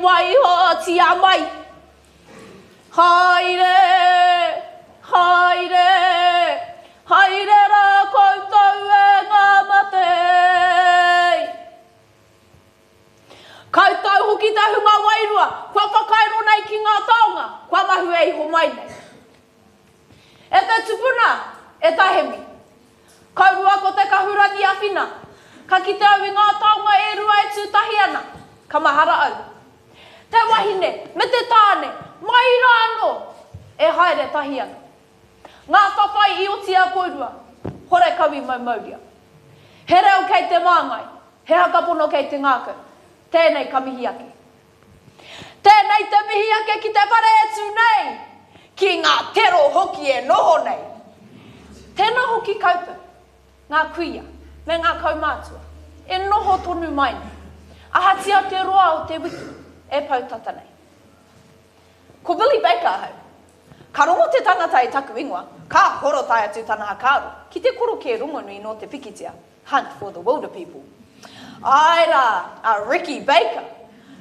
waihotia mai. Haere, haere, haere rā koutou e ngā mate. Koutou hoki te hunga wairua, kua whakairo nei ki ngā taonga, kua mahue iho mai nei. E te tupuna, e ta Hemi. Kaurua ko te kahurangi awhina. Ka kite au i ngā taonga e rua e tū tahi ana, ka mahara au. Te wahine me te tāne, mai rā anō, e haere tahi ana. Ngā whawhai i oti a kourua, horekau i maumauria. He reo kei te māngai, he hakapono kei te ngākau. Tēnei ka mihi ake. Tēnei te mihi ake ki te whare e tū nei, ki ngā tero hoki e noho nei. Tēnā hoki koutou, ngā kuia me ngā kaumātua, e noho tonu mai nei, ahatia te roa o te wiki e pau tata nei. Ko Billy Baker ahau. Ka rongo te tangata i taku ingoa, ka horo tae atu tana hakaaro ki te korokē rongonui nō te pikitia, Hunt for the Wilderpeople. Āe rā, a Ricky Baker.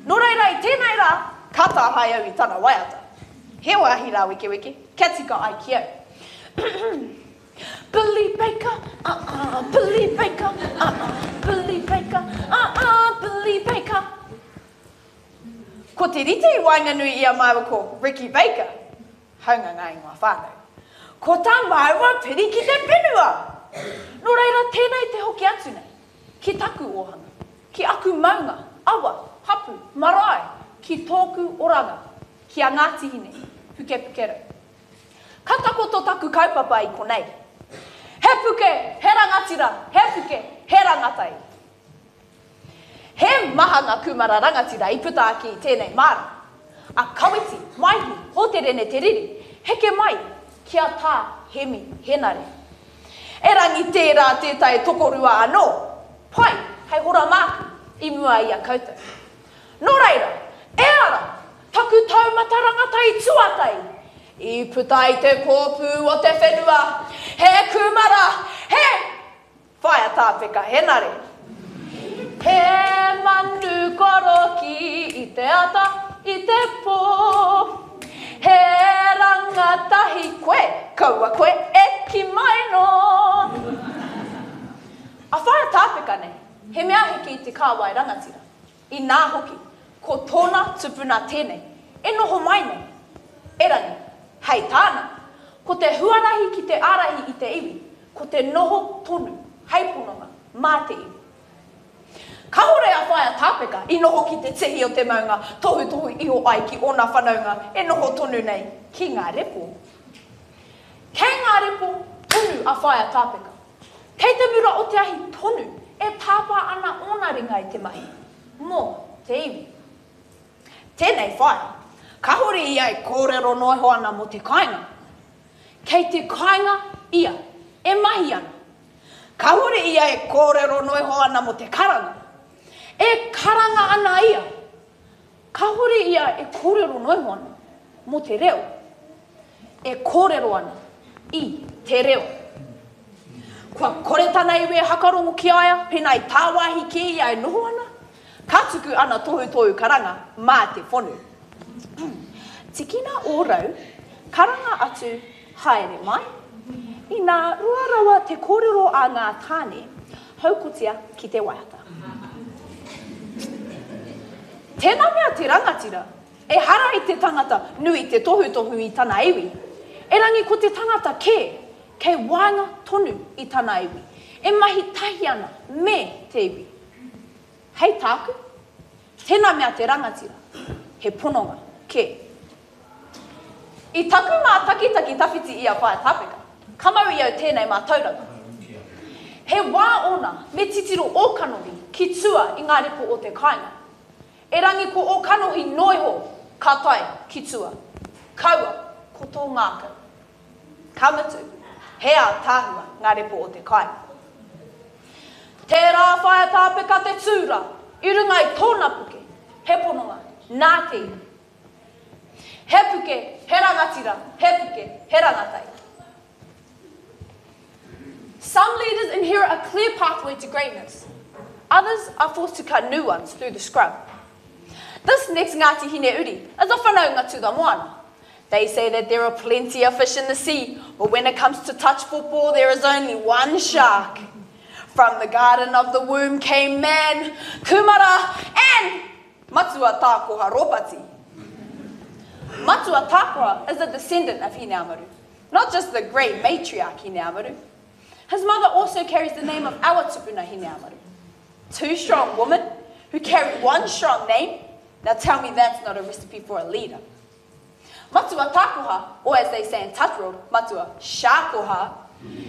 Nō reira i tēnei rā, ka tāhae au i tana waiata. He wāhi rāwekeweke, kia tika ai ki au. Billy Baker, uh-uh, Billy Baker, uh-uh, Billy Baker, uh-uh, Billy Baker. Ko te rite i waenganui i a māua ko Ricky Baker, Haunga ngā ingoa whānau. Ko tā māua piri ki te whenua! Nō reira tēnei te hoki atu nei, ki taku ōhanga, ki aku maunga, awa, hapu, marae, ki tōku oranga, ki a Ngāti Hine, Pukepukerau. Ka takoto taku kaupapa i konei. He puke, he rangatira, he puke, he rangatai. He maha ngā kūmara rangatira i puta ake i tēnei māra. A Kawiti, Maihi, Hōterene Te Riri, heke mai ki a Tā Hemi Henare. Erangi tērā tētahi tokorua anō, pai hei hora māku i mua i a koutou. Nō reira, e ara, taku taumata rangatahi tuatahi, i puta i te kōpū o te whenua, he kūmara, he. Whaea Tāpeka Henare. He manu koroki i te ata, i te pō. He rangatahi koe, kaua koe e ki mai nō. A Whaea Tāpeka nei, he mea heke i te kāwai rangatira. Inā hoki, ko tōna tupuna tēnei, e noho mai nei. Erangi, hei tāna, ko te huarahi ki te ārahi i te iwi, ko te noho tonu hei pononga mā te iwi. Kahore a Whaea Tāpeka i noho ki te tihi o te maunga tohutohu iho ai ki ōna whanaunga e noho tonu nei ki ngā repo. Kei ngā repo tonu a Whaea Tāpeka. Kei te mura o te ahi tonu e tāpā ana ōna ringa i te mahi mō te iwi. Tēnei whaea, kahore ia e kōrero noa iho ana mō te kāinga. Kei te kāinga ia e mahi ana. Kahore ia e kōrero noa iho ana mō te karanga. E karanga ana ia. Kahore ia e kōrero noa iho ana mō te reo. E kōrero ana i te reo. Kua kore tana iwi e hakarongo ki a ia pēnā i tāwāhi kē ia e noho ana. Ka tuku ana tohutohu karanga mā te whonu. Tikina ō rau, karanga atu, haere mai. Inā roa rawa te kōrero a ngā tāne, haukotia ki te waiata. Tēnā mea te rangatira, ehara i te tangata nui te tohutohu i tana iwi, erangi ko te tangata kē kei waenga tonu i tana iwi, e mahi tahi ana me te iwi. Hei tāku, tēnā mea te rangatira, he pononga kē. I taku mātakitaki tawhiti i a Whaea Tāpeka, ka mau i au tēnei mātauranga. He wā ōna me titiro ō kanohi ki tua i ngā repo o te kāinga. Erangi ko ō kanohi noiho ka tae ki tua. Kaua ko tō ngākau. Ka mutu, he ātaahua ngā repo o te kāinga. Tērā Whaea Tāpeka te tūra i runga i tōna puke, he pononga nā te iwi. He puke, he rangatira, he puke, he rangatai. Some leaders inherit a clear pathway to greatness. Others are forced to cut new ones through the scrub. This next Ngāti Hine uri is a whanaunga to the moana. They say that there are plenty of fish in the sea, but when it comes to touch football, there is only one shark. From the garden of the womb came man, kumara, and Matua Tākoha Ropati. Matua Tākoha is a descendant of Hineamaru, not just the great matriarch Hineamaru. His mother also carries the name of our tupuna Hineamaru. Two strong women who carry one strong name. Now tell me that's not a recipe for a leader. Matua Takoha, or as they say in touch world, Matua Shakoha,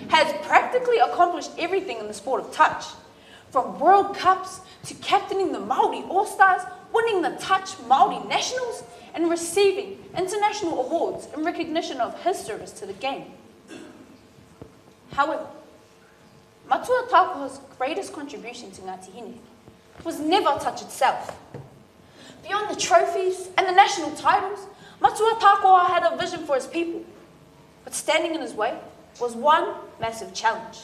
has practically accomplished everything in the sport of touch. From World Cups to captaining the Māori All-Stars, winning the Touch Māori Nationals, and receiving international awards in recognition of his service to the game. However, Matua Takoha's greatest contribution to Ngāti Hine was never touch itself. Beyond the trophies and the national titles, Matua Takoha had a vision for his people. But standing in his way was one massive challenge.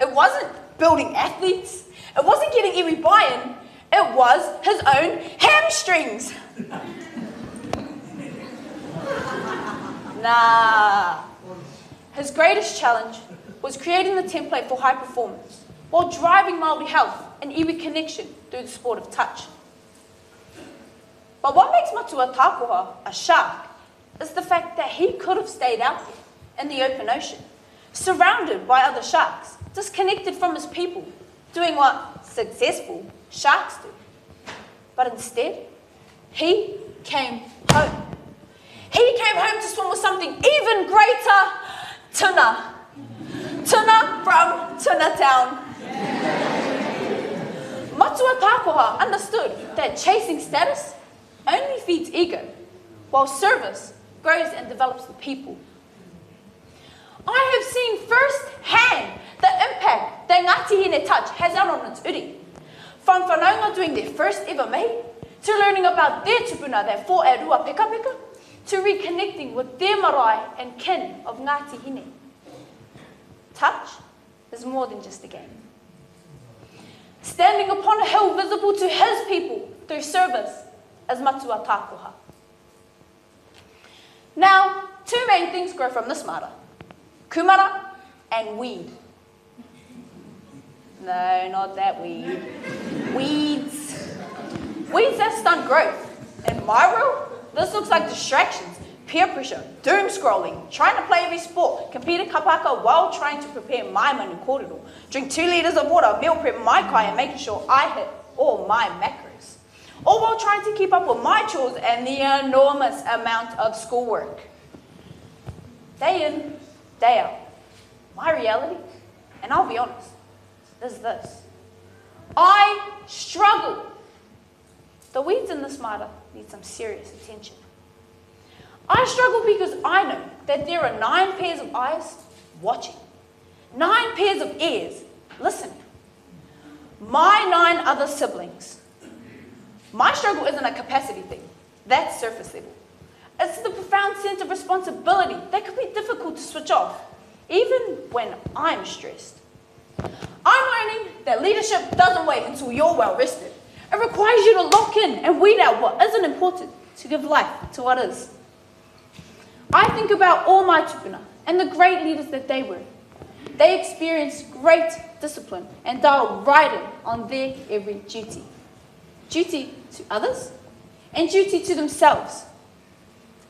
It wasn't building athletes. It wasn't getting iwi buy-in. It was his own hamstrings. Nah. His greatest challenge was creating the template for high performance while driving Māori health and iwi connection through the sport of touch. But what makes Matua Takoha a shark is the fact that he could have stayed out there in the open ocean, surrounded by other sharks, disconnected from his people, doing what successful sharks do. But instead, he came home. He came home to swim with something even greater, tuna. Tuna from Tuna Town. Matua Takoha understood that chasing status only feeds ego, while service grows and develops the people. I have seen firsthand the impact that Ngāti Hine Touch has had on its uri. From whanaunga doing their first ever mahi, to learning about their tupuna that fought at Ruapekapeka, to reconnecting with their marae and kin of Ngāti Hine. Touch is more than just a game. Standing upon a hill visible to his people through service as Matua Takoha. Now, two main things grow from this mara. Kumara and weed. No, not that weed. Weeds. Weeds that stunt growth. In my world, this looks like distractions, peer pressure, doom scrolling, trying to play every sport, compete at kapaka while trying to prepare my manu kōrero, drink 2 litres of water, meal prep my kai and making sure I hit all my macros. All while trying to keep up with my chores and the enormous amount of schoolwork. Day in, day out. My reality, and I'll be honest, is this. I struggle. The weeds in this mara need some serious attention. I struggle because I know that there are 9 pairs of eyes watching, 9 pairs of ears listening. My 9 other siblings. My struggle isn't a capacity thing. That's surface level. It's the profound sense of responsibility that could be difficult to switch off, even when I'm stressed. I'm learning that leadership doesn't wait until you're well rested. It requires you to lock in and weed out what isn't important to give life to what is. I think about all my tupuna and the great leaders that they were. They experienced great discipline and dialed right in on their every duty. Duty to others and duty to themselves.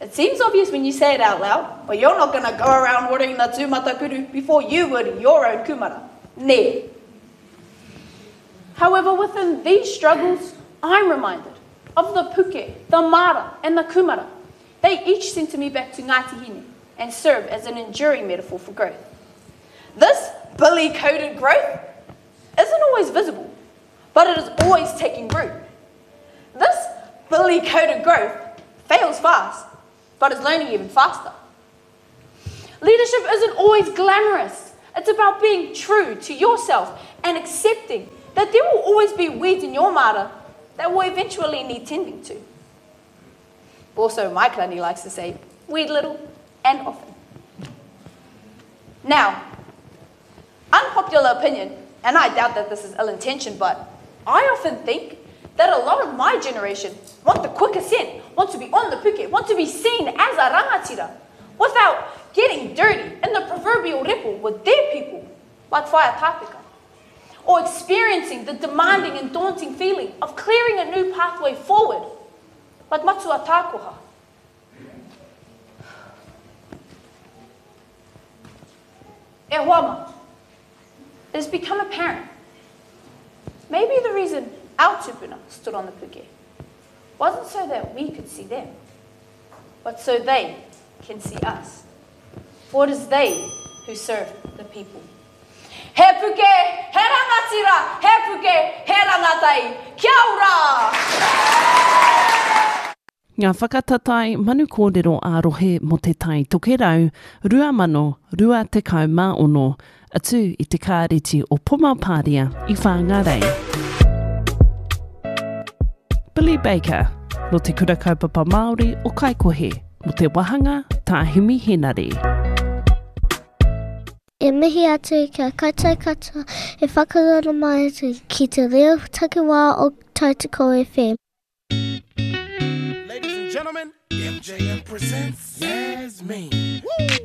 It seems obvious when you say it out loud, but you're not going to go around watering the tūmatakuru before you would your own kumara. Nē. However, within these struggles, I'm reminded of the puke, the mara, and the kumara. They each center me back to Ngāti Hine and serve as an enduring metaphor for growth. This billy-coded growth isn't always visible, but it is always taking root. This billy-coded growth fails fast, but is learning even faster. Leadership isn't always glamorous. It's about being true to yourself and accepting that there will always be weeds in your mara that will eventually need tending to. Also, my clanny likes to say, weed little and often. Now, unpopular opinion, and I doubt that this is ill-intentioned, but I often think that a lot of my generation want the quick ascent, want to be on the puke, want to be seen as a rangatira, without getting dirty in the proverbial ripple with their people, like Whaea Tāpeka, or experiencing the demanding and daunting feeling of clearing a new pathway forward, like Matua Tākoha. E hoa mā, it has become apparent. Maybe the reason our tupuna stood on the puke wasn't so that we could see them, but so they can see us. For it is they who serve the people. He puke, he rangatira, he puke, he rangatai. Kia ora! Ngā whakatatae manu kōrero ā-rohe mō Te Tai Tokerau 2026, atu i te Kāreti o Pomapāria i Whāngārei. Billy Baker, nō Te Kura Kaupapa Māori o Kaikohe, mō te wāhanga Tā Himi Henare. E mihi atu ki a koutou katoa e whakaroro mai ana ki te reo takiwā o Tautoko FM. Ladies and gentlemen, MJM presents Yasmin. Woo!